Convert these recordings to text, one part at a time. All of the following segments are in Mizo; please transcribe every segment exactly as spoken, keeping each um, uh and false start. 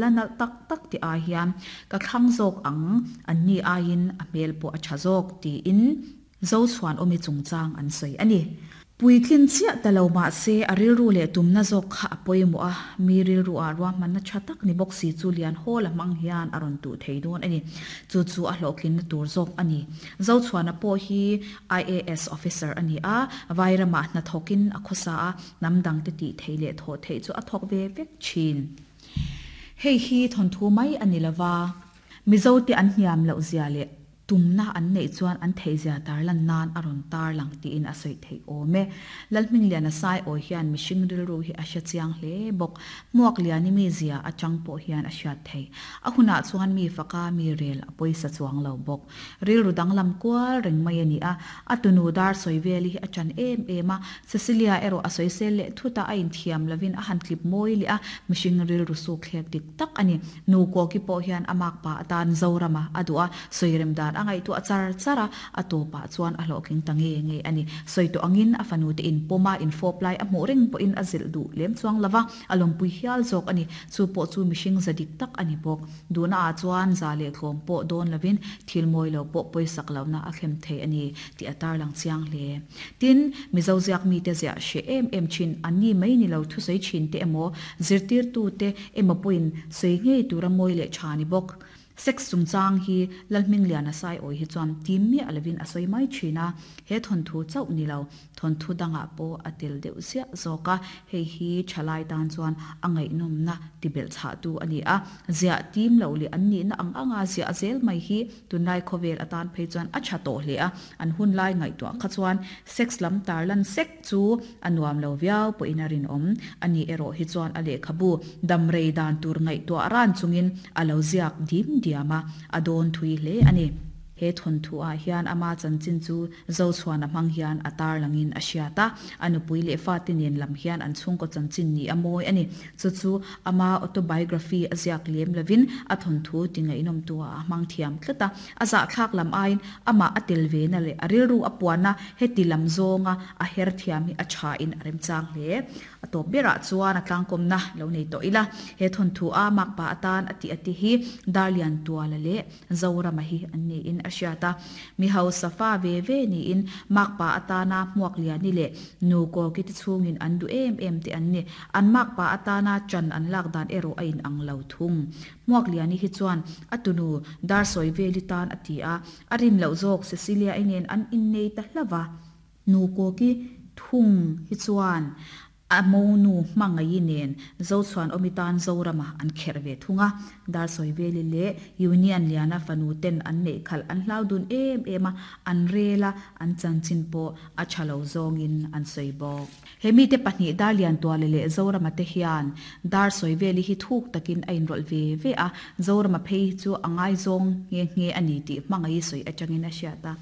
La nalh tak tak tih ai hian ka thlang zawk ang, an ni aiin a hmel pawh a tha zawk tiin Zochhuanawmi chungchang an sawi a ni. Puitlin chiah ta lo mah se a rilru leh tumna zawk kha a pawimawh a, mi rilru ah ruahmanna tha tak ni bawk si chu lian hawl a hmang hian a rawn tuh thei dawn a ni. Chu chu a hlawhtlinna tur zawk a ni. Zochhuana pawh hi I A S officer a ni a, Vairamah hnathawkin a khawsa a, hnam dangte tih theih leh thawh theih chu a thawk ve vek thin. Hei hi thawnthu mai a ni lova, Mizote an hniam loh zia leh tumna an neih chuan an theihzia tarlan nan a rawn tarlang tiin a sawi theih awm e. Lalhmingliana Saiawi hian mihring rilru hi a hre chiang hle bawk. Hmuakliani mizia atang pawh hian a hriat theih. A hunah chuan mi faka mi rel a pawisa chuang lo bawk. Rilru danglam kual reng mai a ni a, a tunu dar sawi vel hi a ṭan em em a, Cecilia erawh a sawisel leh thut a, a inthiam lovin a han tlip mawi leh a, mihring rilru suk thlek dik tak a ni. Nu Kawki pawh hian a makpa atan Zorama a duh a, sawirem dan a ngaihtuah char char a, a tawpah chuan a hlawhtling ta nge nge a ni. Sawi tawh angin a fanute inpawm a, infawp lai a hmuh reng pawhin a zilh duh lem chuang lo va, a lawmpui hial zawk a ni. Chu pawh chu mihring za dik tak a ni bawk. Duhna ah chuan za leh tlawm pawh dawn lovin thil mawi lo pawh pawisak lohna a thlem thei a ni tih a tarlang chiang hle. Tin, Mizo ziak mite ziah hreh em em thin an ni mai ni lo thusawi thin te emaw, zirtirtute emaw pawhin sawi ngei tura mawi leh tha ni bawk. Sex chungchang hi Lalhmingliana Saiawi hi chuan tim miah lovin a sawi mai thin a, he thawnthu chauh ni lo, thawnthu dangah pawh a tel deuh ziah zawk a, hei hi thalai tan chuan a ngaihnawmna ti belh chhahtu a ni a, ziah tim loh leh an nihna ang anga ziah zel mai hi tunlai khawvel atan phei chuan a tha tawh hle a, an hunlai ngaihtuah kha chuan sex lam tarlan sek chu a nuam lo viau pawhin a rinawm a ni erawh hi chuan a lehkhabu damrei dan tur ngaihtuah ran chungin a lo ziak dim diam a, a dawn thui hle a ni. He thawnthu ah hian ama chanchin chu Zochhuana hmang hian a tarlangin a hriat a, a nupui leh fate nen lam hian an chhungkaw chanchin ni a mawi a ni. Chu chu ama autobiography a ziak lem lovin a thawnthu ti ngaihnawmtu ah a hmang thiam tlat a, a zahthlak lam aiin amah a tel ve na leh a rilru a puan a, heti lam zawnga a her thiam hi a tha in a remchang hle. A tawp berah chuan a tlangkawmna lo nei tawh ila, he thawnthu a makpa atan a tih a ti hi Darliantuala leh Zorama hi an niin a hriat a. Mi hausa fa ve ve niin makpa atana Hmuakliani leh Nu Kawkite chhungin an duh em em te an ni. An makpa atana chan an lak dan erawh a inang lo thung. Hmuakliani hi chuan a tunu Darsawiveli tan a ti a, a rin loh zawk Cecilia-i nen an innei ta hlauh a. Nu Kawki thung hi chuan a monu hmangaih nen Zochhuan awmi tan Zorama an kherh ve thung a, Darsawiveli leh Union Liana fanu ten an neih khalh an hlau dun em em a, an rel a, an chanchin pawh a tha lo zawngin an sawi bawk. He mite pahnih Darliantuala leh Zorama te hian Darsawiveli hi thuk takin a inrawlh ve ve a, Zorama phei hi chu a ngaizawng nghe nghe a ni tih hmangaih sawi atangin a hriat a.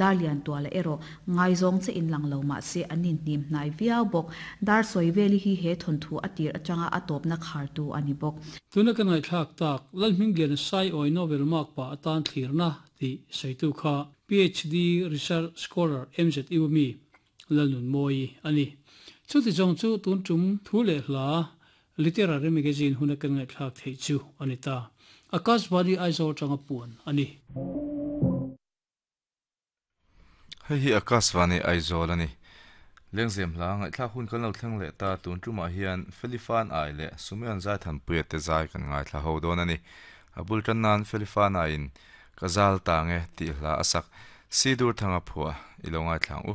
Darliantuala erawh ngaizawng che in lang lo mah se an inhnim hnai viau bawk. Darsawiveli hi he thawnthu a tir atanga a tawpna khartu a ni bawk. Tuna ka ngaihthlak tak, Lalhmingliana Saiawi Novel makpa atan thlirna tih sawitu kha P H D Research Scholar M Z U mi Lalnunmawi a ni. Chuti zawng chu tun tum thu leh hla Literary Magazine huna kan ngaihthlak theih chu a ni ta. Akashvani Aizawl atanga puan a ni. Hei hi Akashvani Aizawl a ni. Lengzem hla ngaihthlak hun kan lo thleng leh ta tun tumah hian Felifan Ai leh Sumeon Zaithanpuia te zai kan ngaithla ho dawn a ni. A bul tan nan Felifan Aiin ka zal ta nge tih hla a sak Sidur Thanga phuah i lo ngaithla ang u.